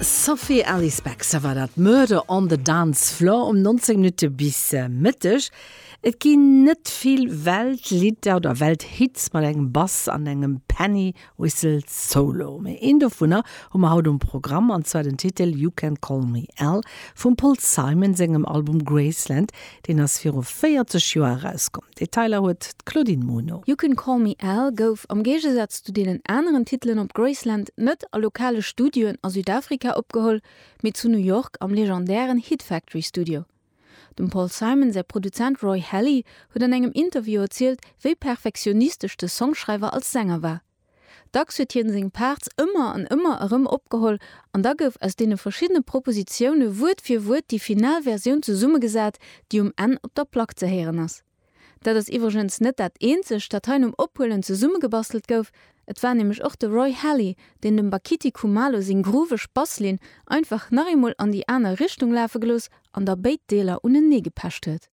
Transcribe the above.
Sophie Ellis Bextor war dat, Murder on the Dance Floor um 19 Minutte bis Mëtteg. Et ginn net vill Weltlidder oder Welthits mat engem Bass an engem Penny Whistle Solo. Mee een dovunner hu mer haut um Programm, an zwar den Titel You Can Call Me Al vum Paul Simon sengem Album Graceland. Deen ass viru 40 Joer erauskomm. Detailer huet d'Claudine Muno. You Can Call Me Al gouf, am Géigesaz zu deenen aneren Titelen op Graceland, net a lokale Studioen a Südafrika opgeholl, mee zu New York am legendären Hit Factory Studio. Dem Paul Simon säi Produzent Roy Halee huet an engem Interview erzielt, wéi perfektionistesch de Songschreiwer als Sänger war. Dacks huet hien seng Parts ëmmer an ëmmer erëm opgeholl an da gouf aus deene verschiddene Propositioune Wuert fir Wuert déi final Versioun zesummegesat, déi um Enn op der Plack ze héieren ass. Dat ass iwwregens net dat eenzegt, dat hei nom Ophuelen zesummegebastelt gouf, et war nämlech och de Roy Halee, deen dem Bakithi Kumalo seng grooveg Basslinn einfach nach eemol an déi aner Richtung lafe gelooss an da béid Deeler uneneegepecht huet.